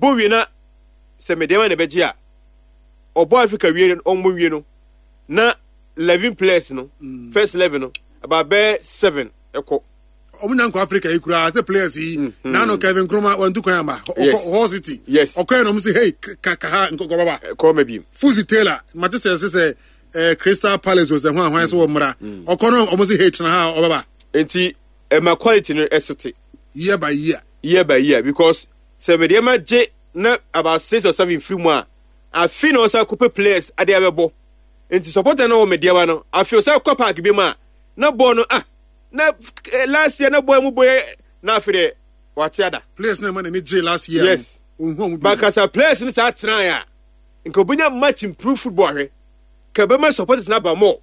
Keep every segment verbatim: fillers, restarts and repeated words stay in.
Bɔ wie na sɛ Medeama na ɛbɛgye a, ɔbɔ Africa wie no, ɔmmɔ wie no na eleven players no, mm. first eleven no, about bɛɛ seven ɛkɔ. Ɔmo nya nkɔ Africa yi koraa sɛ players yi mm, mm. Nano Kevin Nkrumah wantu kwan amba ɔkɔ Hull City. Yes. Ɔkɔɛ na ɔmo sɛ, hey, ka ka ha nkɔ baba. Kɔ ma bi. Fuzi Taylor mate sɛ ɛsɛ sɛ ɛɛ Crystal Palace o, sɛ ho ahwan sɛ wɔ mmra, ɔkɔ no ɔmo sɛ, hey, tena ha, ɔbɛba. Nti ɛma quality no ɛso te. Year by year. Year by year, because sɛ Medeama gye na about six or seven firi mu a, afi na ɔsa kɔpɛ players ade abɛbɔ. Nti supporter na wɔ Medeama no, afi ɔsa kɔ park bi mu a na bɔɔl no, ah, na eh, last year na bɔɔl mu bɔ yɛ na afi deɛ wate ada. Players na ɛma n'ani gye last year. Yes. Ohun ɔmo bi. Bakasa players no saa tenae a, nka obinya much improve football ahwɛ ka bɛma supporters no aba more,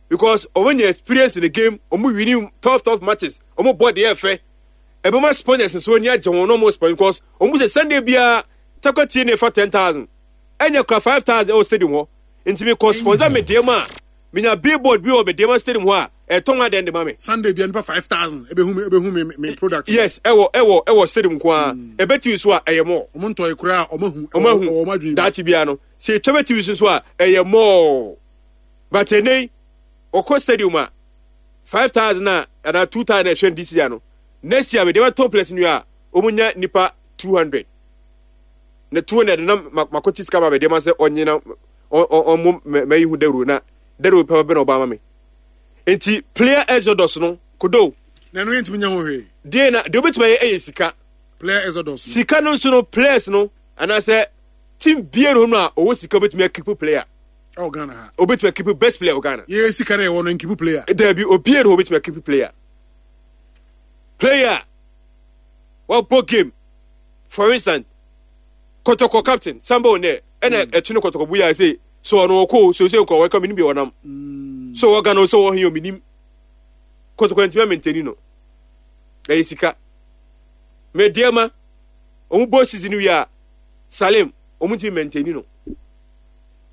because ɔmo nya experience in the game, ɔmo winning tough tough matches, ɔmo bɔ deɛ ɛfɛ, ɛbɛma sponsors nso ani agye wɔn na ɔmo sponsor, because ɔmo sɛ Sunday biara takɔ tie ne fa ten thousand ɛnyɛ kora five thousand ɛwɔ stadium hɔ. Nti mi kɔ sponsor Medeama a, minya billboard bi wɔ Medeama Stadium hɔ a ɛtɔn adeɛ de ma mi. Sunday bia nipa five thousand ebehu mi ebehu mi mi product. Yes, ɛwɔ ɛwɔ ɛwɔ stadium nko ara. Ɛbɛ T V so a, ɛyɛ more. Ɔmo ntɔ ekura a, ɔmo ahu. Ɔmo ahu. Ɛwɔ ɔmo adwene mu. Daakye biara no sɛ etwa bɛ T V so so a, ɛyɛ more. But ɛnɛ yi ɔkɔ stadium a, five thousand a anaa two thousand ɛhwɛ this year no, next year mede bɛtɔn players no a, ɔmo nya nipa two hundred na two hundred na makɔkye sika ma mede ma sɛ ɔnye na ɔmo mɛyi ho dawuro na dawuro pɛ bɛ na ɔba ama me. Nti player exodus no kodo. Na ɛno yɛntumi nya ho hwee. Deɛ na deɛ obetumi ayɛ ɛyɛ sika. Player exodus. Sika no nso no, players no anaasɛ team biara hɔ no a ɔwɔ sika obetumi akeep player. Ɛwɔ Ghana ha. Obetumi akeep best player wɔ Ghana. Yɛ sika na ɛwɔ no nkeep player. Dabi, obiara hɔ obetumi akeep player player wabɔ game. For instance, Kɔtɔkɔ captain Samba Onɛ ɛna ɛkyi no Kɔtɔkɔ buya sɛ so ɔno ɔkɔ so sɛ nkɔ wɔka minim bi ɔnam so wɔ Ghana so wɔ hɛn ominim Kɔtɔkɔ ntumi amɛntɛni no. Ɛyɛ sika. Medeama ɔmo bɔ season wi a, Salim, ɔmo ntumi mɛntɛni no.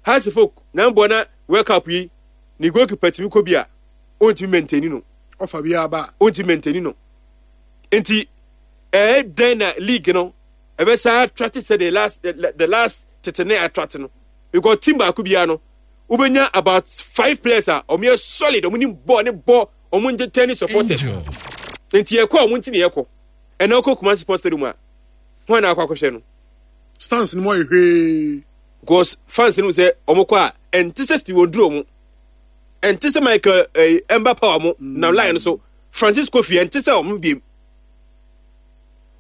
Hearts of Oak na mbɔ na World Cup yi ne goalkeeper tumi kɔ bi a, ɔntumi mɛntɛni no. Ɔfa bi aba. Ɔntumi mɛntɛni no. Nti ɛyɛ dɛn na league no ɛbɛsa attract sɛ the last the, the last tete ne attract no? Because team baako biara no wobɛnya about five players a ɔmo yɛ solid, ɔmo ni bɔ ne bɔ, ɔmo entertain supporters. Nti yɛkɔ a, ɔmo nti ne yɛkɔ. Ɛna ɔkɔ Kumasi Sports Stadium a, wɔn na akɔ akɔhwɛ no. Stands no mu ayɛ hwee. Because fans no sɛ ɔmo kɔ a, ɛnte sɛ Steven Oduro mo, ɛnte sɛ Michael ɛɛ Emba Power mo na line so Francis Kofi, ɛnte sɛ ɔmo biem.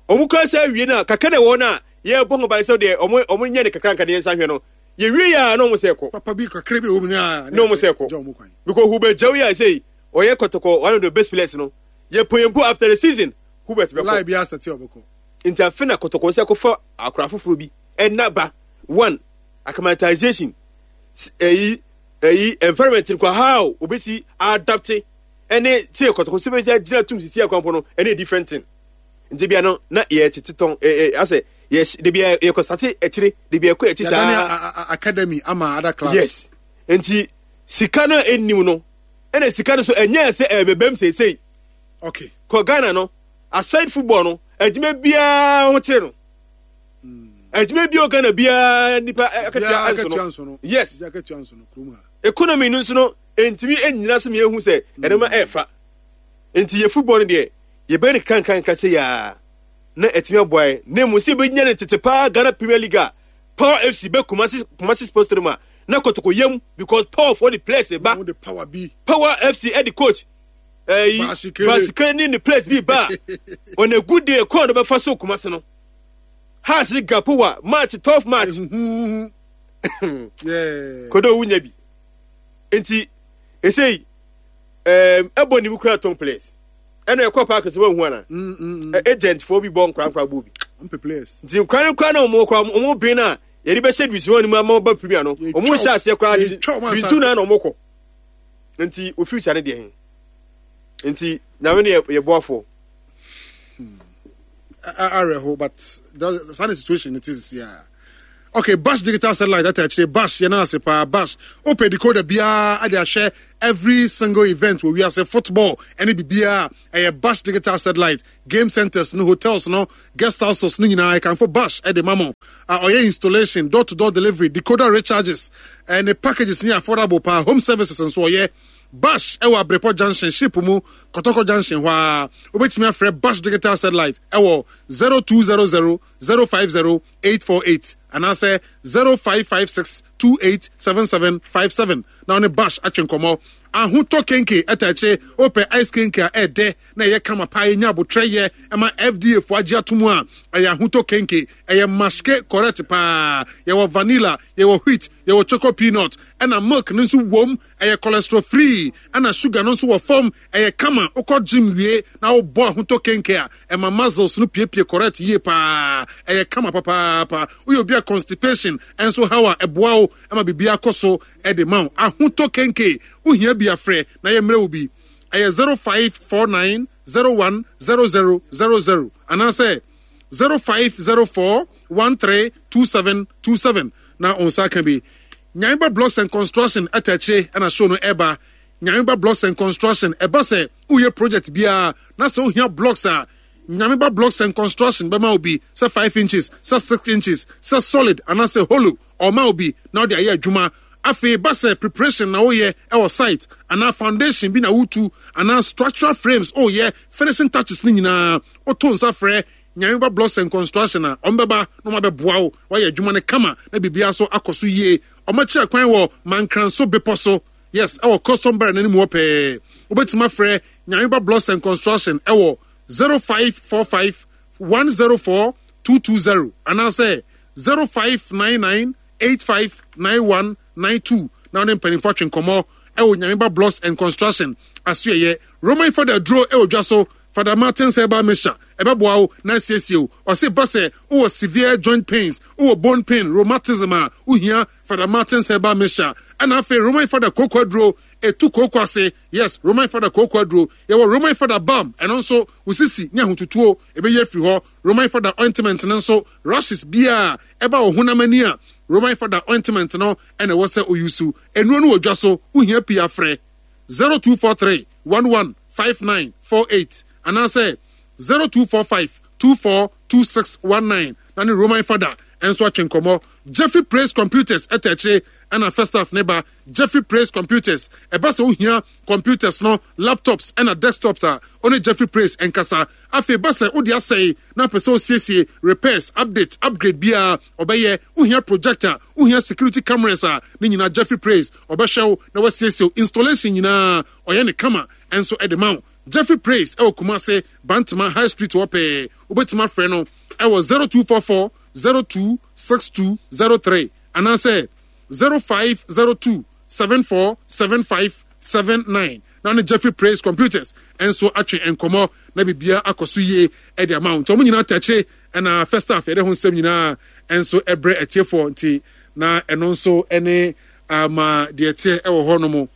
Ɔmo kura sɛ awie no a, kakra na ɛwɔ no a yɛbɔ ho ban sɛ deɛ ɔmo ɔmo nyɛ ne kakra nka ne yɛn nsa hwɛ no, yɛwie yɛ a na ɔmo sɛ kɔ. Papa bi kakra bi wɔ mu na. Na ɔmo sɛ kɔ, because Hubert Gyaw yi a sɛ ɔyɛ Kɔtɔkɔ one of the best players no, yɛ pɔyɛmpo after the season Hubert bɛkɔ. Line bi asɛte ɔbɛkɔ. Nti afe na Kɔtɔkɔ sɛ kɔfa akora foforɔ bi ɛna ba one acclimatization, ɛyi ɛyi environment nkɔ how obesi adapt ɛne tie Kɔtɔkɔ sɛ bɛsi agyina tum sisi akwanpo no ɛne different thing. Nti bia no na yɛ tete tɔn ɛɛ asɛ yɛ de bia yɛ kɔ sate akyire de bia kɔ akyi saa. Yɛdane academy ama other clubs. Yes, nti sika no a ɛnnim no, ɛna sika no so ɛnyɛ sɛ ɛbɛbɛm seesei. Okay kɔ Ghana no, aside football no, adwuma biara ho kyerɛ no, adwuma bi o Ghana biara nipa akatua nso no. Yes, economy no nso no ntumi nyina so mmiɛnhu sɛ ɛnoma ɛɛfa. Nti yɛ football no deɛ, yɛbɛyɛ no kankanka sɛ yaa na ɛtumi aboa yɛ, na emu sɛ yɛbɛnya no tete paa Ghana Premier League a, Power F C bɛ Kumasi Kumasi Sports Stadium a, na Kɔtɔkɔ yam, because Power for the players ba. Power bi. Power F C ɛde coach ɛyi Basikele ne ne players bi ba on a good day kɔn no bɛfa so Kumasi no Hearts ne Gapowa match, twelve match kodo wunya bi. Nti esei ɛɛm ɛbɔ ne mu kura tɔn players ɛna ɛkɔ park so wɔn hu ana agent foɔ bi bɔ nkora nkora bɔ bi. Nti nkora no kora na wɔn kora wɔn ben na yɛde bɛhyɛ division one mu ama ɔba Premier no, wɔn nhyɛ aseɛ koraa division two na na wɔn kɔ. Nti o future ne deɛ he? Nti Nyame ne yɛ boafoɔ. Awerɛho, but saa ne situation ne te sisi a. Okay, Bash Digital Satellite ata akyire. Bash, yɛn ase paa. Bash wopɛ decoder biara ade ahwɛ every single event wɔ wiase, football ɛne biribiara, ɛyɛ Bash Digital Satellite. Game centers no, hotels no, guest houses no nyinaa, ɛkanfo Bash ɛde ma mo a ɔyɛ installation, door to door delivery, decoder recharges, ɛne packages ne affordable paa. Home services nso ɔyɛ. Bash ɛwɔ Abrepɔ Junction, ship mu, Kɔtɔkɔ Junction hɔ a. Wobɛtumi afrɛ Bash Digital Satellite ɛwɔ zero two zero zero zero five zero eight four eight anaasɛ zero five five six two eight seven seven five seven na ɔne Bash atwe nkɔmmɔ. Ahotɔ Kenke ɛta akyire. Wopɛ ice kenke a ɛɛdɛ na ɛyɛ kama paa, yɛnya abotrɛ yɛ ɛma F D A fo agye ato mu a, ɛyɛ Ahotɔ Kenke. Ɛyɛ maske correct paa. Yɛwɔ vanilla, yɛwɔ wheat, yɛwɔ choco peanut, ɛna milk no nso wom. Ɛyɛ cholesterol free, ɛna sugar no nso wɔ fam. Ɛyɛ kama. Wokɔ gym wie na wobɔ Ahotɔ Kenke a, ɛma muscles no piepie correct yie paa. Ɛyɛ kama papaapa. Woyɛ obi a constipation ɛnso haw a, ɛboa wo ɛma biribi akɔ so ɛde ma wo. Ahotɔ Kenke, wohia bi afrɛ na yɛmmerɛ wo bi. Ɛyɛ zero five four nine zero one zero zero zero zero anaasɛ zero five zero four one three two seven two seven na wo nsa ka bi. Nyameba Blocks and Construction ɛta akyire ɛna show no ɛba. Nyameba Blocks and Construction, ɛba sɛ woyɛ project biara na sɛ wohia blocks a, Nyameba Blocks and Construction bɛma wo bi, sɛ five inches, sɛ six inches, sɛ solid anaasɛ hollow, ɔma wo bi na wode ayɛ adwuma. Afei ba sɛ preparation na woyɛ ɛwɔ site anaa foundation bi na wotu anaa structural frames, woyɛ finishing touches ne nyinaa, woto nsa frɛ Nyameba Blocks and Construction a, ɔmbɛba na ɔmabɛboa wo wayɛ adwuma no kama na biribiara so akɔ so yie. Ɔmakyerɛ kwan wɔ Mankranso Bepɔ so, yes, ɛwɔ custom bar n'anim hɔ pɛɛ. Wobɛtumi afrɛ Nyameba Blocks and Construction ɛwɔ zero five four five one zero four two two zero anaasɛ zero five nine nine eight five nine one nine two na ɔne mpanimfoɔ atwe nkɔmmɔ ɛwɔ Nyameba Blocks and Construction asoɛyɛ. Roman Fada duro ɛwɔ dwa so. Father Martins Herbal Mixture ɛbɛboa wo na asiesie wo. Ɔse ba sɛ wowɔ severe joint pains, wowɔ bone pain, rheumatism a, wohia Father Martins Herbal Mixture. Ɛna afei Roman Fada kooko aduro, ɛtu kooko ase. Yes, Roman Fada kooko aduro. Yɛwɔ Roman Fada balm, ɛno nso wo sisi ne ahotutuo ɛbɛyɛ afiri hɔ. Roman Fada ointment no nso, rashes biaa ɛba wɔ honam ani a, Roman Fada ointment no ɛna ɛwɔ sɛ oyusu. Nnuro no wɔ dwa so. Wohia pii afrɛ zero two four three one one five nine four eight anaasɛ zero two four five two four two six one nine na ne Roman Fada ɛnso atwe nkɔmmɔ. Jeffrey Praise Computers ɛta akyire ɛna first half ne ba. Jeffrey Praise Computers, ɛba sɛ wohia computers no, laptops ɛna desktops a, ɔne Jeffrey Praise ɛnkasa. Afei ba sɛ wode asɛe na apɛ sɛ osiesie, repairs, update, upgrade biara ɔbɛyɛ. Wohia projector, wohia security cameras a, ne nyinaa Jeffrey Praise ɔbɛhwɛ wo na wasiesie wo. Installation nyinaa ɔyɛ ne kama ɛnso ɛde ma wo. Jeffrey Praise ɛwɔ Kumase, Bantama High Street hɔ pɛɛ. Wobɛtumi afrɛ no ɛwɔ zero two four four zero two six two zero three anaasɛ zero five zero two seven four seven five seven nine na ne Jeffrey Praise Computers ɛnso atwe nkɔmmɔ na biribiara akɔ so yie ɛde ama wo. Nti ɔmo nyinaa tɛkyere ɛna first half yɛde ho nsɛm nyinaa ɛnso ɛbrɛ atiefoɔ. Nti na ɛno nso ɛne ama deɛ teɛ ɛwɔ hɔ nom.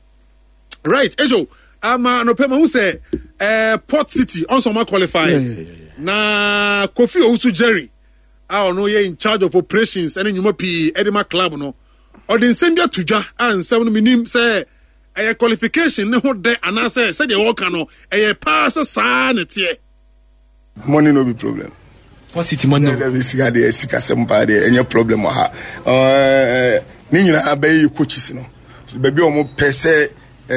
Right, ejo ama anɔpɛ ma ho sɛ ɛɛ Port City ɔnso ɔma qualify. Yeah, yeah, yeah, na Kofi Owusu Jerry a ɔno yɛ in charge of operations ɛne nnwuma pii ɛde ma club no, ɔde nsɛm bi ato dwa a nsɛm no menim sɛ ɛyɛ qualification ne ho dɛ anaasɛ sɛdeɛ wɔka no ɛyɛ paa sɛ saa ne teɛ. Money no be problem. Port City money. No be sika deɛ, sika sɛm paa deɛ, ɛnyɛ problem wɔ ha. Ɛɛ ne nyinaa bɛyɛ yɛ coaches no baabi a wɔn pɛ sɛ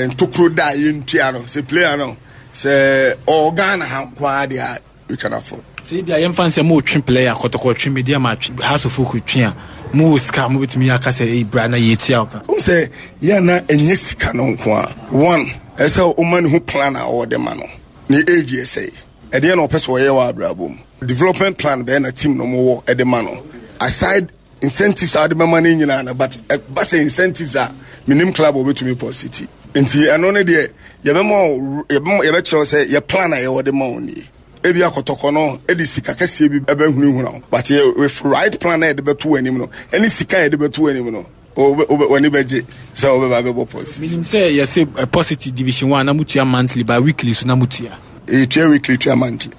ntokuro da a yɛntua no sɛ player no sɛ ɔwɔ Ghana ha nko ara deɛ a, we can afford. Sɛ ebi a yɛmfa nsɛ mo twe player, Kɔtɔkɔ twe, Medeama twe, Hearts of Oak twe a, mo wɔ sika a mobɛtumi aka sɛ ɛyi bra na yɛtua wo ka? Wohu sɛ yɛn na ɛnyɛ sika no nko a. One, ɛsɛ woma ne ho plan a ɔwɔ ma no. Ne age yɛ sɛ ɛdeɛ na ɔpɛ sɛ ɔyɛ wɔ abrabɔ mu. Development plan bɛyɛ na team no mowɔ ɛde ma no. Aside incentives a wɔde bɛma no nyinaa no, but ɛba sɛ incentives a, menim club a wɔbɛtumi Port City. Nti ɛno ne deɛ yɛbɛma yɛbɛkyerɛw sɛ yɛ plan a yɛwɔ de ma wo nie. Ebi akɔtɔkɔ no ɛde sika kɛseɛ bi ɛbɛhunahuna wo, but yɛ with right plan na yɛde bɛto w'anim no ɛne sika a yɛde bɛto w'anim no, w'ani bɛgye sɛ wobɛba bɛbɔ Port City. Menim sɛ yɛsɛ Port City Division One na motua monthly, but weekly so na motua? Yɛtua weekly, tua monthly.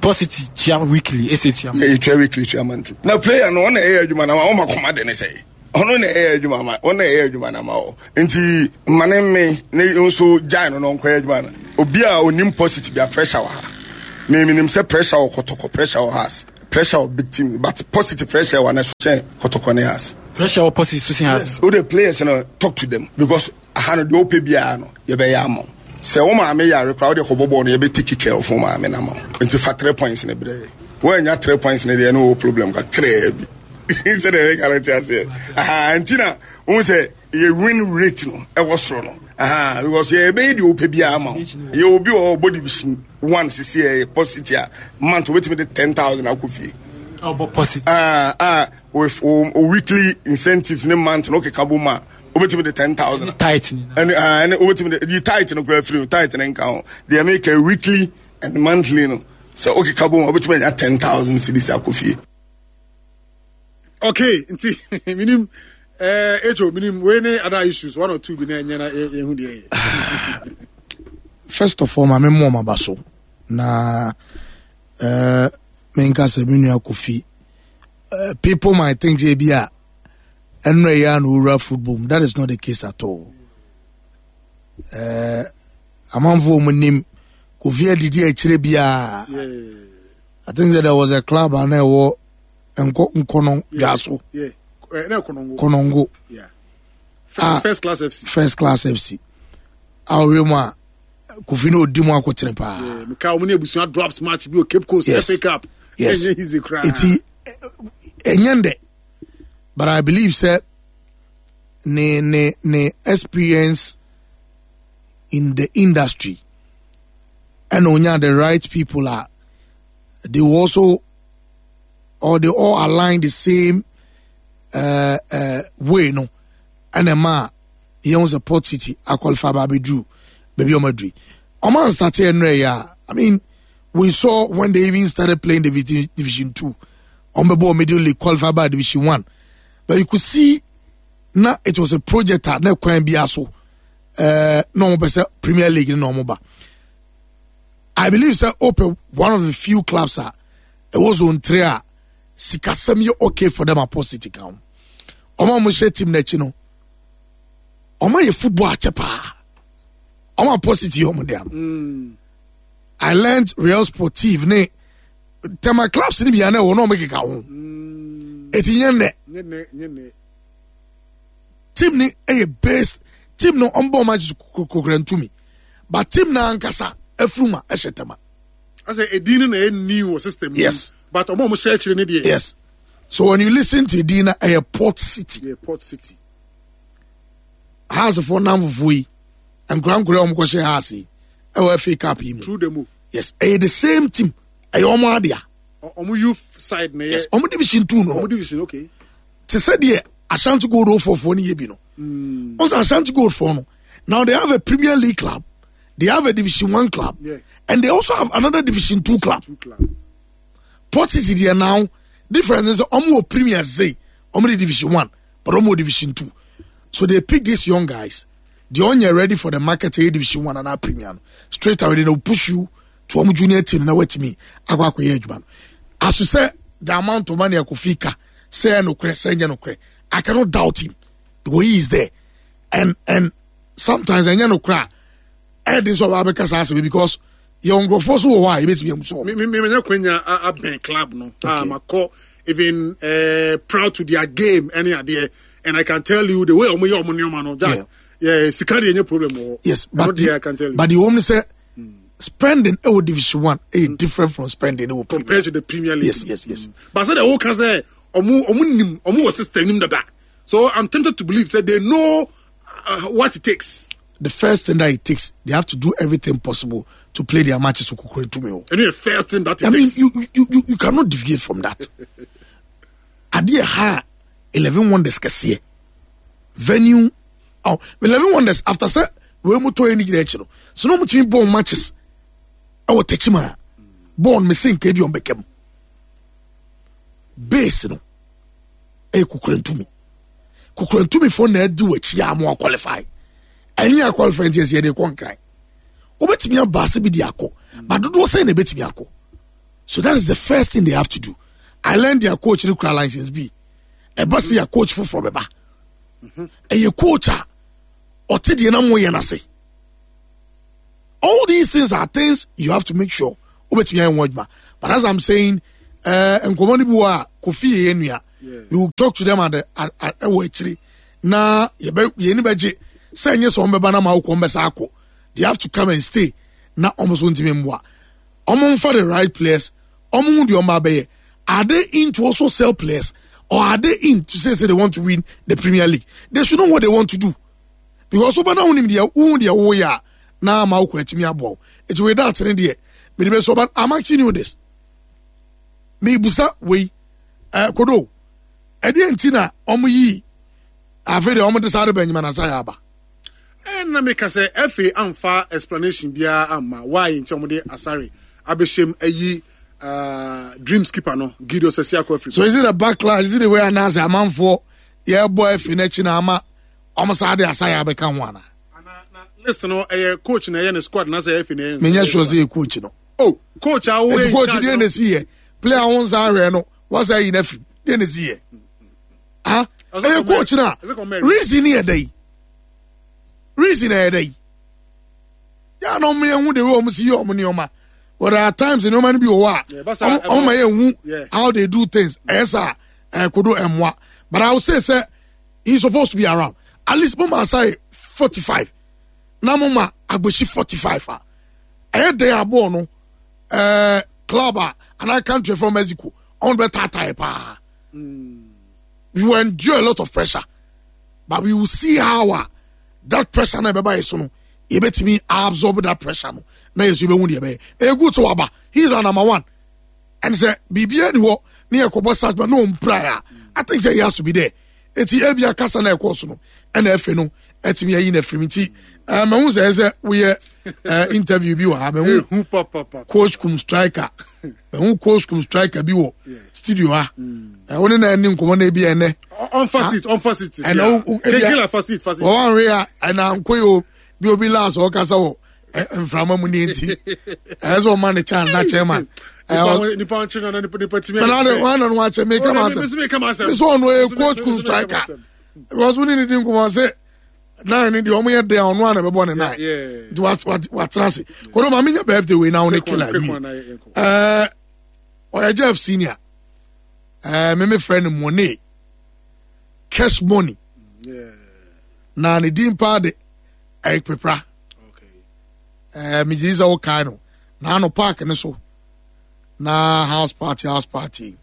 Port City tua weekly ɛsɛ tua. Yɛ tua weekly, tua monthly. Na player no, ɔna ɛyɛ adwuma na ma ɔma kɔma de ne sɛ ɔno na ɛyɛ adwuma ma ɔna ɛyɛ adwuma na ma ɔ nti ma ne me ne nso gyae no na ɔnkɔyɛ adwuma no. Obi a onim Port City bi a, pressure wɔ ha. Me menim sɛ pressure wɔ Kɔtɔkɔ, pressure wɔ Hearts, pressure wɔ big team, but Port City pressure wɔ na so kyɛn Kɔtɔkɔ ne Hearts. Pressure wɔ Port City so sen Hearts. Yes, o de players no, talk to them, because aha no deɛ wopɛ biara no yɛbɛyɛ ama wo. Sɛ wo maame yare koraa, wode kɔbɔ bɔɔl no, yɛbɛ take care of wo maame no ama wo. Nti fa three points ne brɛ yɛ. Woanya three points ne deɛ, ne wɔ problem kakraa bi sɛdeɛ ɛka no te aseɛ. Aha nti na wohu sɛ yɛ win rate no ɛwɔ soro no aha, because yɛbɛyɛ deɛ wopɛ biara ama wo. Yɛ obi wɔ hɔ, ɔbɔ division one sisi, ɛyɛ Port City a, month wobɛtumi de ten thousand akɔ fie. Ɔbɔ Port City. Ah, ah, with o, o weekly incentives ne month no keka bɔ mu a, wobɛtumi de ten thousand. Ɛne tight ni. Ɛne ah, ɛne wobɛtumi de yi tight no kora firi o, tight ne nka ho. Deɛ meka, weekly and monthly no, sɛ wokeka bɔ mu a, wobɛtumi anya ten thousand cedis akɔ fie. Okay, nti minim eh ejo minim wei ne other issues one or two bi na ɛnyɛ na yɛhu deɛ yɛ. First of all, maame mu ɔma ba so na uh, menka sɛ me nua Kofi, uh, people might think sɛ bi a ɛno ɛyɛ a na owura football mu. That is not the case at all. uh, amanfoɔ mu nim Kofi adidi akyire biara. I think that there was a club a na ɛwɔ nkɔ nkɔnɔ dwaso. Yeah, eh, na Konongo. Konongo. Yeah. Ah. First Class F C. First Class F C a ɔwɛ mu a Kofi na odi mu akɔkyerɛ paa. Yeah, meka wɔn ne Abusua Dwarfs match bi wɔ Cape Coast. Yes. F A Cup. Yes. Ɛnyɛ easy koraa. Eti ɛnyɛ ndɛ, but I believe sɛ ne ne ne experience in the industry ɛna onya the right people a they will also or they all align the same uh, uh, way no, ɛna ɛma a yɛn sɛ Port City aqualify ba abɛduru baabi a wɔn aduru. Ɔmo anstart ɛnrɛ yɛ a, I mean, we saw when they even started playing the division, division two, ɔmo bɛ bɔ middle league, qualify by division one, but you could see na it was a project a na kwan bi aso ɛɛ na ɔmo pɛ sɛ Premier League na ɔmo ba. I believe sɛ open one of the few clubs a ɛwɔ zone three a sikasɛm yɛ okay for them a Port City ka ho. Ɔmo a ɔmo hyɛ team n'akyi no, ɔmo ayɛ football akyɛ paa. Ɔmo a Port City yɛ ɔmo dea no, I learned Real Sportive ne Tema clubs ni bia na ɛwɔ na ɔmo keka ho. Eti nyɛ nnɛ. Nyɛ nɛ, nyɛ nɛ. Team ni ɛyɛ based team no, ɔmo bɔ ɔmo agye kokora ntumi, but team na ankasa afuruma ɛhyɛ Tema. Asɛ edin no na ɛyɛ new wɔ system mu. Yes. But ɔmo a ɔmo hyɛ akyire ne deɛ. Yes, so when you listen to edin na ɛyɛ Port City. Yeah, Port City. Haasefoɔ nam fufuo yi, nkora nkora a wɔn kɔhyɛ Hearts yi ɛwɔ F A Cup yi mu. Through the mu. Yes, ɛyɛ the same team, ɛyɛ ɔmo adea. Ɔ- ɔmo youth side na Yes. ɛyɛ. Ɔmo division two no. Ɔmo division, okay. Te sɛ deɛ Ashanti Gold fofoɔ no yɛ bi no. Ɔn sɛ Ashanti Gold foɔ no now, they have a Premier League club, they have a division one club, Yeah. and they also have another division two club. Two club. Port City deɛ now, difference is ɔmo wɔ Premier say ɔmo de division one, but ɔmo wɔ division two. So they pick these young guys, they only ready for the market, ɛyɛ division one and Premier no, straight away they will push you to ɔmo junior team na wɔatumi akɔ akɔyɛ adwuma no. Aso sɛ the amount of money Akofi ka sɛ ɛyɛ nokorɛ sɛ ɛnyɛ nokorɛ, I cannot doubt him because he is there, and and sometimes ɛnyɛ nokorɛ a ɛyɛ den sɛ ɔbaa bɛka saa asɛm yi, because yɛwɔ nkurɔfoɔ so wɔ hɔ a yɛbɛtumi amu so. Me me me menya kwanya a- abɛn club no a makɔ even uh, proud to their game ɛne adeɛ, and I can tell you the way ɔmo yɛ ɔmo nneɛma no, Jack, yeah, sika deɛ nyɛ problem wɔ hɔ. Yes, ɛno but deɛ I can tell you. But the only say spending ɛwɔ division one ɛyɛ different from spending ɛwɔ Premier. Compared to the Premier League. Yes, yes, yes. But sɛ deɛ wɔka sɛ ɔmo ɔmo nim ɔmo wɔ system nim dada, so I'm tempted to believe say they know uh, what it takes. The first thing that it takes, they have to do everything possible to play their matches with Kukure Tumio. Ɛno yɛ first thing that it I mean, takes. you, you, you, you cannot deviate from that. Adeɛ ha Eleven Wonders kɛseɛ venue, oh, Eleven Wonders after sɛ wei mu tɔ yɛ ne gyina akyi no so na ɔmo tumi bɔɔl matches ɛwɔ Tɛkyima a bɔɔl no mese nka bi ɔmo bɛka mu base no ɛyɛ Kukurantumi. Kukurantumifoɔ na adi wɔ akyi a mo qualify, ɛnyɛ a qualify nti ɛsɛ yɛde kɔ Nkran. Wobɛtumi aba ase bi de akɔ ba dodoɔ sɛn na ɛbɛtumi akɔ. So that is the first thing they have to do. I learned their coach no kura license B. Ɛba sɛ yɛ coach foforɔ bɛba. Ɛyɛ coach a ɔte deɛ na mo yɛ n'ase. All these things are things you have to make sure wobɛtumi ayɛ ho adwuma. But as I'm saying, uh, nkɔmɔ no bi wɔ a Kofi yɛ yɛn nua. We will talk to them at the at at ɛwɔ akyire na yɛbɛ yɛn ni bɛgye sɛ ɛnyɛ sɛ wɔn bɛba na ma awokɔ wɔn bɛsa akɔ. They have to come and stay na wɔn nso ntumi mboa. Wɔn nfa the right players. Wɔn hu deɛ wɔn ba bɛyɛ. Are they in to also sell players or are they in to say say they want to win the Premier League? They should know what they want to do because wɔn na wɔn deɛ wɔn deɛ wɔyɛ a na ama awokɔ atumi aboa wo. Eti wei da atene deɛ mede bɛ so but I'm asking you this. Mebusa wei ɛɛ kodo ɛdeɛ nti na wɔn yi afei deɛ wɔn de saa de Benjamin Asare aba. Ɛna meka sɛ F A amfa explanation biara amma why nti ɔmo de Asare abɛhyɛm ayi uh, dream skipper no Gideon Sasiako afiri. So is it a backlash? Is it the way anaasɛ amanfoɔ yɛbɔ efi n'akyi na ama wɔn saa de Asare abɛka ho ana? List no ɛyɛ coach na ɛyɛ ne squad na sɛ F A na ɛyɛ ne Menyɛ sure sɛ yɛ coach no. Oh, coach a wo Eti coach deɛ na esi yɛ player ho nsa ahwɛ no wasa yi n'afiri deɛ na esi yɛ. Ah, ɛyɛ coach na reason yɛ dɛ yi reason yɛ dɛ yi yà na ɔmo yɛn hu de wei ɔmo si yɛ ɔmo nneɛma, but there are times nneɛma no bi wɔ hɔ a ɔmo ɔmo ma yɛn hu how they do things. Ɛyɛ sɛ ɛɛ kodo ɛmoa, but I will say sɛ he is supposed to be around. At least mo ma Asare forty five na mo ma Agbesi forty five a ɛyɛ den abɔɔ no ɛɛ club a anaa country from Mexico ɔmo bɛ taataa yɛ paa. We will endure a lot of pressure, but we will see how uh, that pressure na ɛbɛba yɛ so no yɛbɛtumi absorb that pressure no na yɛ so yɛbɛhu deɛ ɛbɛyɛ. Ɛyɛ good sɛ waba. He is our number one and sɛ biribiara ni hɔ ne yɛ kɔbɔ search but no ɔmpira a, I think sɛ he has to be there. Eti ebi akasa na ɛkɔɔ so no ɛna ɛfɛ no ɛtumi ayi na firim. Nti ɛɛ mɛhu sɛ ɛsɛ woyɛ ɛɛ interview bi wɔ ha. Mɛhu Ehu papapa. Coach kum striker, mɛhu coach kum striker bi wɔ studio ha. Ɛɛ wɔn ne na ɛni nkɔmɔ na ebi ɛnɛ Ɔnfa seat, ɔnfa seat sisi ɛna a. wo- wo- ebia- Kenkela fa seat, fa seat. Wɔn ahwɛ a ɛna nkoyi o bi obi last ɔkasa wɔ ɛ- mframa mu ne nti ɛyɛ sɛ ɔma ne chance na chairman Nipa ɛɛ wɔn- nipa wɔn kyerɛ na nipa nipa timi. Nana de wɔn na no akyɛ mi kama asɛm. Mesi mi kama asɛm. Mi sɛ ɔno yɛ Mesi mi- coach kum mesi mi kama striker asɛm. because wɔn ne ne di nkɔmɔ sɛ nine ni deɛ ɔmo yɛ den a ɔno ana bɛbɔ ne nine Yeah. nti wa wa watena ase kodo maame nya birthday wei na wɔn ne Quick one, killer quick wie one, na yɛ- yɛnkɔ. Ɛɛ ɔyɛ Jeff senior, ɛɛ meme frɛ no Money, Cash Money. Yeah. Na ne din paa de Eric Pepra. Okay. Ɛɛ megye di sɛ wokae no naano park ne so na house party house party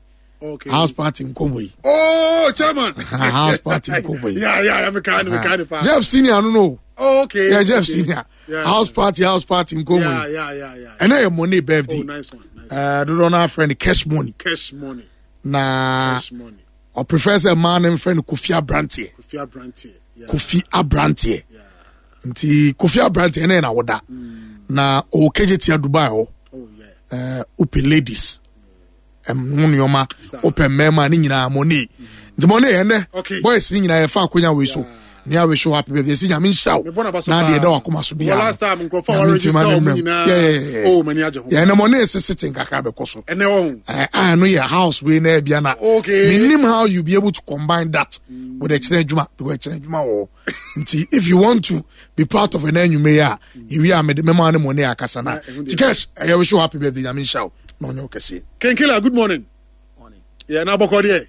Okay. house party nkɔmmɔ yi. Oh, chairman. House party nkɔmmɔ yi. Yeah, yeah, yeah. Me kind, me kind pa. Jeff senior no no Oh, okay. Yeah, Jeff okay. senior. Yeah. House party house party nkɔmmɔ Yeah, yi. yeah, yeah, yeah. Ɛnɛ yɛ Money birthday. Oh, nice one. Nice one. Ɛɛ dodoɔ no afrɛ no Cash Money. Cash Money. Na Cash Money. ɔprefer sɛ mmaa no mfrɛ no Kofi Abranteɛ. Kofi Abranteɛ. Yeah. Kofi Abranteɛ. Yeah. Nti Kofi Abranteɛ ɛnɛ yɛ na woda na ɔwɔ K J T Dubai hɔ. Oh, yeah. Ɛɛ wopɛ ladies ɛm ho nneɛma, Saa. wopɛ mmarima ne nyinaa, Money. Nti Money ɛnɛ Okay. boys ne nyinaa yɛfa akonya wei so ne awish you happy birthday. Ɛsi Nyame nhyira wo Mebɔ n'aba so na paa. deɛ ɛda wakoma so Well, biara last time nkurɔfoɔ a Nyame wɔregister nti ma ne wɔn mmerɛ mu. nyinaa. Yeah, yeah, yeah. Oh, m'ani agye ho. Yeah, ɛnɛ Money sisi te nkakra bɛkɔ so. Ɛnɛ wɔ ho. Eh, a ɛno yɛ house wei na ebia na Okay. menim how you be able to combine that with ɛkyerɛ adwuma because ɛkyerɛ adwuma wɔ hɔ. Nti if you want to be part of ɛnɛ anwummerɛ yi a yɛwie a mede mɛma ne Money akasa na Yeah, ɛho deɛ. nti Cash ɛyɛ wish you happy birthday. Nyame nhyira wo na ɔnyɛ wo kɛseɛ. Kenkela, good morning. Yeah, na bɔkɔ deɛ.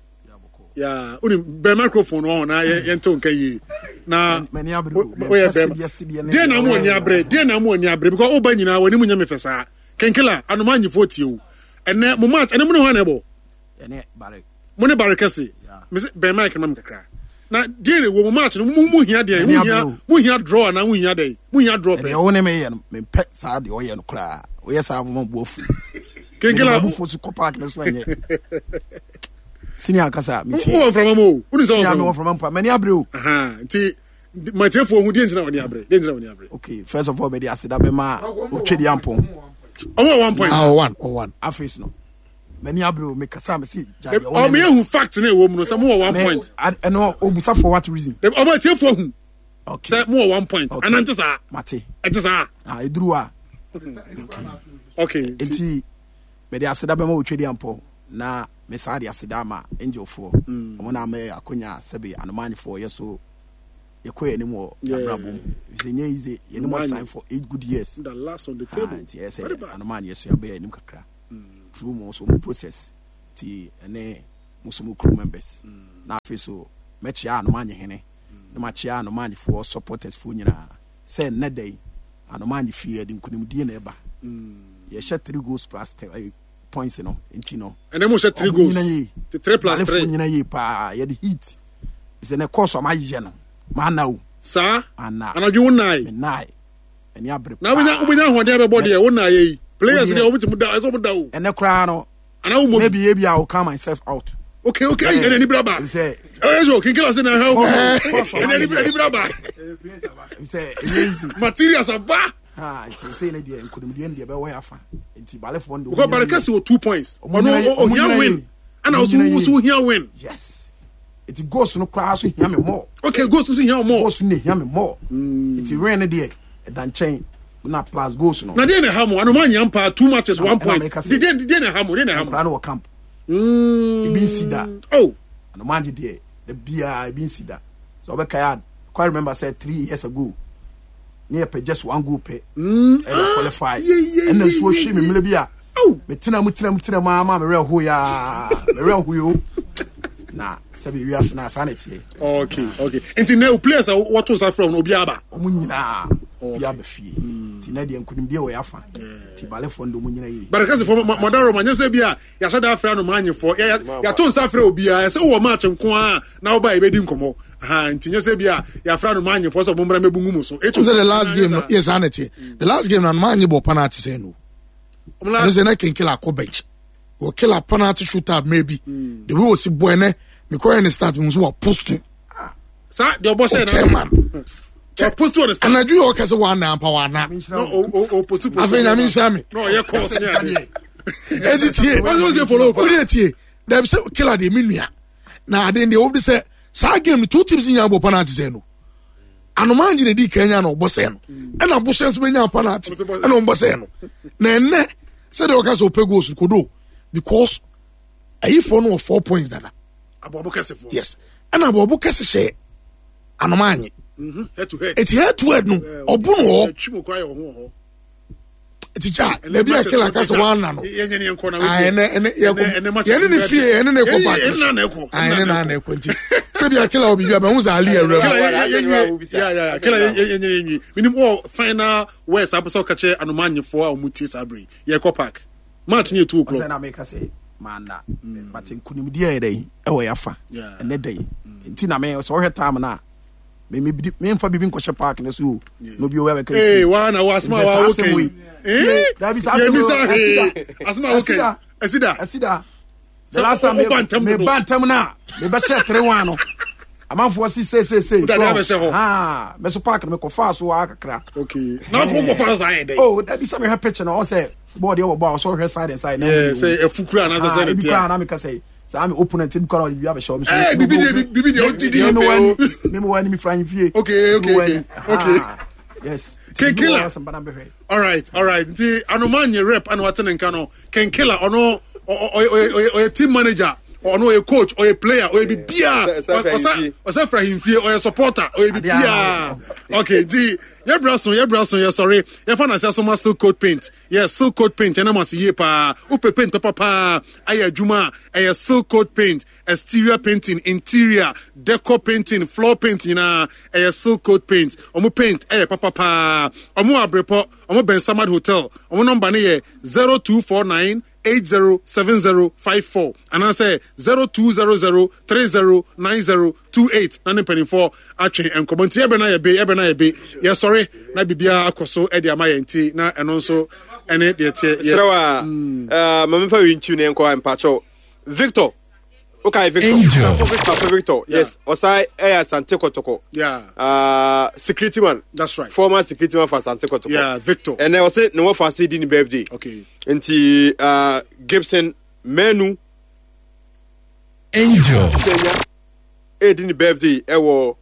Yeah, unim bɛn microphone wɔ hɔ na yɛn yɛn te nka yie. Na M'ani abere wo- o. woyɛ Mempɛ bɛrima. sedeɛ sedeɛ ne Deɛ na deɛ mu ɔyɛ ani abere, deɛ na mu ani abere because ɔba nyinaa wɔn anim nyɛ me fɛ saa. Kenkela, anoma anyifo tie o. Ɛnɛ mo match, ɛnɛ mo ne hɔ na ɛbɔ. Ɛne bare. Mo ne bare kɛse. Yeah. Mese bɛn mic no ma me kakra. Na deɛ na ɛwɔ mo match no mo mo hia deɛ, M'ani mo hia abere o. mo hia draw anaa mo hia deɛ, mo hia draw Ɛdeɛ pɛ. wo ne meyɛ no, mempɛ saa deɛ ɔyɛ no koraa. Woyɛ saa moma bu afu. Kenkela, Abufuo so kɔ park no so ɛnyɛ senior ankasa wo metie. wɔ mframa mu o. Woni sɛ wɔ Senior mframa mewɔ mu. mframa mpa, m'ani abere o. Aha, nti matiefoɔ hu deɛ ntina wɔn ani abere, deɛ ntina wɔn ani abere. Okay, first of all, mede aseda bɛma Otwedi Ampɔn. Ɔmo wɔ one point. Ah, ɔwan ɔwan. Afei no, m'ani abere o. Mekasa mese gya deɛ wo ne Ɔmo me- yɛ hu fact na ɛwɔ mu no sɛ mo wɔ one Me- point. ad- ɛno obusa for what reason? Ɔmo atiefoɔ hu Okay. sɛ mo wɔ one point. Okay. Anante saa. Mate. Ɛte saa. Ah, ɛduru a Okay, nti nti Mede aseda bɛma wo twɛdi ampɔ na mesaa de aseda ama angelfoɔ. Ɔmo na ama yɛ akonya sɛbe anomanyefoɔ yɛ so yɛkɔ yɛn anim wɔ abrabɔ mu. Sɛ nyɛ easy, yɛn anim asan for eight good years. The last on the Ah, table. nti ɛyɛ sɛ Very bad. anomanyɛ so yɛabɛyɛ anim kakra. Through mo so mo process ti ɛne mo so mo crew members. Na afei so mɛkyia anomanye hene na makyia anomanyefoɔ supporters foɔ nyinaa sɛ nnɛ da yi anomanye fie yɛde nkonimdie na ɛba. Yɛhyɛ three goals plus ten, eh, points no nti no. And then we share three Ɔmo goals. nyina yie. The three plus Balefoɔ three. nyina yie paa yɛde heat sɛ ne kɔɔso a mayɛ no maana o Saa. ana Anadwo wo nnan. menae ɛne abere Na wobɛnya wobɛnya ahoɔden abɛbɔ deɛ wo nnan yɛ yi. Players Wodeɛ- deɛ wɔbɛtumi da ɛsɛ wɔn da o. ɛnɛ koraa no Ana wo mo. maybe ebi I will calm myself out Okay okay. Ɛnna ni braba. sɛ Ɛyɛ sɛ kinkila se na ɛhɛ wo. Kɔɔso- Ɛnna ni ni braba. sɛ ɛnyɛ easy Materials aba. ha nti sɛ ne deɛ nkonimdie no deɛ bɛwɔ yɛ afa nti balefoɔ no deɛ Because ɔmo nyina Barekɛse yie. wɔ two points. Ɔmo Ɔno nyina yie. Ɔmo ohia nyina win. yie. Ɛna Ɔmo ɔso nyina ɔso yie. ohia win. yes nti goals no koraa so hia me more Okay goals nso hia more. goals no na hia me more nti win no deɛ ɛda nkyɛn na plus goals no Na deɛ na ɛha mo anoma anya mpa two matches Na- one ɛna point. meka sɛ- Deɛ deɛ na ɛha mo deɛ na ɛha mo. koraa no wɔ camp Mm. ebi nsi da Oh. anomagye deɛ da biara ebi nsi da sɛ ɔbɛkae a quite remember sɛ three years ago ne yɛpɛ just one goal pɛ Mm. ɛna qualify yeah, yeah, ɛna yeah, nsuo yeah, hwe me mmerɛ bi a Oh. metena mu tena mu tena mu ama merɛ ho yaa merɛ ho yo na sɛbi wiase na saa na ɛteɛ Okay okay. Nti na o players a wɔto nsa frɛ wɔn obi aba. ɔmo nyinaa bi aba fie nti na deɛ nkonimdie wɔ yɛ afa nti balefoɔ no de ɔmo nyina yie Barekɛse fo mɔdaro ma nyɛ sɛ bi a yɛahyɛ da afrɛ anoma anyefoɔ yɛato nsa frɛ obiara sɛ wowɔ match nko a na woba yɛbɛdi nkɔmmɔ. Aha nti nyɛ sɛ bi a yɛafrɛ anoma anyefoɔ sɛ ɔmommra mmɛbu ngu mu so. Ɛtum sɛ the last game no yes ana tie the last game na anoma anye bɔ penalty sɛ no ɛno sɛ na kenkela akɔ bench wɔ killer penalty shootout maybe the way osi bɔ ɛnɛ mekɔyɛ ne start mi nso wɔ post to Saa deɛ ɔbɔ hyɛ na chairman ɔ post on the start. anadwo yɛ ɔka sɛ wɔana ampa wɔana No o o o post post. afei nyame nhyira me No ɔyɛ calls ne ade. ɛti tie Wɔn sɛ follow up. wode tie dabi sɛ killer deɛ me nua na ade deɛ wode sɛ saa game no two teams nyinaa bɔ penalty sɛ no anoma angye na di kan nya na ɔbɔ sɛ no ɛna abohyɛ nso bɛnya penalty ɛna ɔmbɔ sɛ no na ɛnɛ sɛdeɛ ɔka sɛ ɔpɛ goals kodo because ayifoɔ no wɔ four points dada Aboabo kɛsefoɔ. yes ɛna aboabo kɛse hyɛ anoma anye Mhm. Head to head. eti head to head no ɔbo no wɔ Twi mu kora yɛ wɔ ho wɔ hɔ. eti gya dabi a killer ka sɛ wɔana no Yɛnyɛ ne yɛnkɔ na Ah, ɛnɛ ɛnɛ yɛkɔ Ɛnɛ matches yɛne ne no fie yɛne ne kɔ park Yɛne na na ɛkɔ. Ah, ɛne na na ɛkɔ nti sɛbi akela wɔ biribi a bɛhu sɛ ali awura Kela mu yɛ- yɛ- yɛ- yeah, yeah, yeah. Kela yɛ- yɛ- yɛ- yɛ- Minim wɔ final words apɛ sɛ ɔka kyerɛ anoma anyefoɔ a ɔmo tie saa bere yi. Yɛkɔ park. Match ne yɛ two ɔsɛ o'clock. na meka sɛ maana but nkonimdie yɛ dɛn ɛwɔ yɛ afa Yeah. ɛnɛ da yi nti na me sɛ wohwɛ time no a me- me- memfa biribi nkɔhyɛ park no so o na obi ɔwɛ bɛka Ee wa na wa asoma wa wo kɛn. Ee Dabi, saa yɛ asɛm mi wei, sa hwee. ɛsida. Asoma wo kɛn. Ɛsida. Ɛsida. ɛsida the Sɛ last time wo- wo ba ntɛm me dodo. ba ntɛm no a mebɛhyɛ three one no amanfoɔ si seeseesei Wode adeɛ abɛhyɛ hɔ. mɛso park no mekɔfaa so waa kakra Okay. Na ko ko fa sa yɛ dɛ. oh dabi sɛ mehwɛ picture no ɔ sɛ bɔɔl deɛ wɔbɔ a ɔsɛ ɔhwɛ side and side na Yeah, wohu. sɛ ɛfu kura anaasɛ sɛ Ah, ne ebi tia. koraa na meka sɛ saa me opponent ebi koraa ɔde biribi abɛhyɛ ɔmo so Eh, bibi deɛ bibi deɛ ɔgye di. me me wɔ me wɔ anim fira fie Okay, okay, okay, okay. yes King Killer. Killer All right, all right. Nti anoma nye rep ana wate ne nka no. Kenkela ɔno ɔ- ɔ- ɔyɛ ɔyɛ ɔyɛ team manager. Ɔno ɔyɛ coach, ɔyɛ player, ɔyɛ bibia. Ɔsɛ- ɔsɛ Ɔsɛ ahemfie. ɔsɛ fira ahemfie, ɔyɛ supporter, ɔyɛ bibia. Okay, nti yɛbra so yɛbra so yɛsɔre. Yɛfa na sɛ soma silk coat paint. Yes, silk coat paint ɛnam ase yie paa. Wopɛ paint papa paa ayɛ adwuma a ɛyɛ silk coat paint, exterior painting, interior, decor painting, floor paint nyinaa ɛyɛ silk coat paint. Ɔmo paint ɛyɛ papa paa. Ɔmo wɔ Abrepɔ, ɔmo bɛn Samad Hotel. Ɔmo nɔmba ne yɛ zero two four nine eight zero seven zero five four anaasɛ zero two zero zero three zero nine zero two eight na ne mpanimfoɔ atwe nkɔmɔ nti ɛbɛn na yɛ be ɛbɛn na yɛ be yɛsɔre na biribiara akɔ so ɛde ama yɛn ti na ɛno nso ɛne deɛ teɛ yɛ serɛ wa ma memfa wi nkyiw ne nkɔ mpakyɛw victor wokae victor Angel. Papa victor yes ɔsan ɛyɛ asante kɔtɔkɔ yeah Uh, security man that's right former security man for asante kɔtɔkɔ yeah Victor ɛnɛ ɔse ne wɔfa ase di ne birthday okay nti uh, gibson manu Angel. sɛnya ɛdi ne birthday ɛwɔ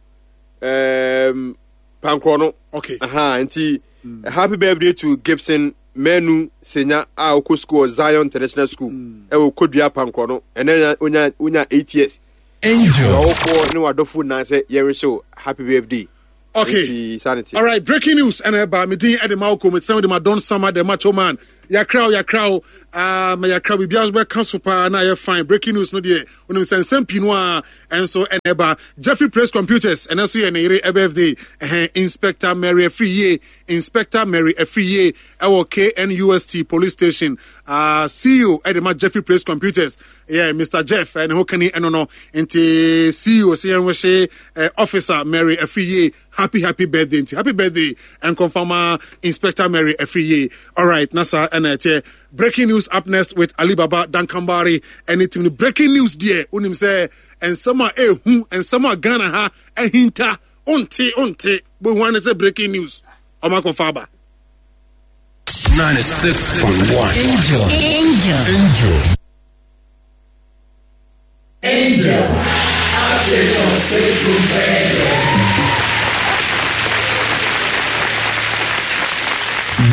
um, pankorɔ no okay Aha, nti happy birthday to Gibson Menu Senya a ɔkɔ school wɔ Zion International School ɛwɔ Kodua Pankorɔ no ɛnɛ onya onya eight years. Angel. Ɔwofoɔ ne wadɔfo nyinaa sɛ yɛrehyɛ wo happy birthday. Okay. Nti saa ne te. All right, breaking news. And ɛba me din ɛde Malcolm it's with my Don Summer the macho man. Yakraw yakraw um yakraw bibia bɛka so paa na yɛ fine. Breaking news no deɛ onim sɛ nsɛm pii no a ɛnso ɛna ɛba Jeffrey Praise Computers ɛna nso yɛ ne yere birthday. Ɛhɛn Inspector Mary Afriye Inspector Mary Afriye ɛwɔ K N U S T Police Station. Uh, C E O ɛde ma Jeffrey Praise Computers. Yeah, Mister Jeff ɛne ho kani ɛno no. Nti C E O sɛ yɛn wɔhyɛ eh, Officer Mary Afriye happy happy birthday. Nti happy birthday ɛnkɔmfama Inspector Mary Afriye. All right, na saa ɛna ɛteɛ. Breaking news up next with Alibaba Dankambari ɛne team no. Breaking news deɛ, wonim sɛ nsɛm a ɛɛhu, nsɛm a Ghana ha ahinta, wonte wonte bohu ane sɛ breaking news ɔma akɔfa aba. ninety-six point one. Angel. Angel. Angel. Angel.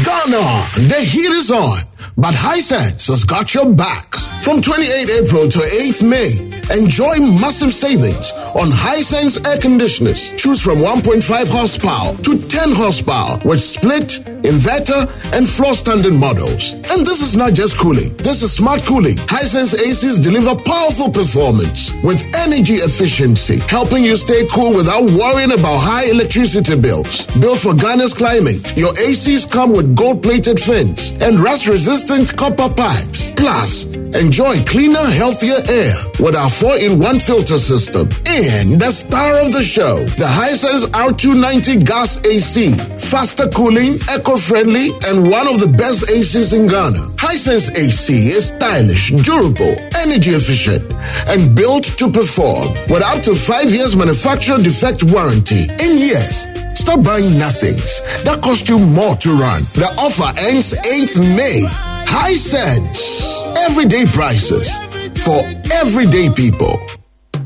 Ghana, the heat is on, but Hisense has got your back. From twenty-eighth April to eighth May, enjoy massive savings on Hisense air conditioners. Choose from one point five horsepower to ten horsepower with split, inverter, and floor standing models. And this is not just cooling. This is smart cooling. Hisense A Cs deliver powerful performance with energy efficiency, helping you stay cool without worrying about high electricity bills. Built for Ghana's climate, your A Cs come with gold-plated fins and rust-resistant copper pipes. Plus, enjoy cleaner, healthier air with our four-in-one filter system. And the star of the show, the Hisense R two ninety Gas A C. Faster cooling, eco-friendly, and one of the best A Cs in Ghana. Hisense A C is stylish, durable, energy efficient, and built to perform with up to five years manufacturer defect warranty. And yes, stop buying nothings that cost you more to run. The offer ends eighth May. Hisense. Everyday prices for everyday people.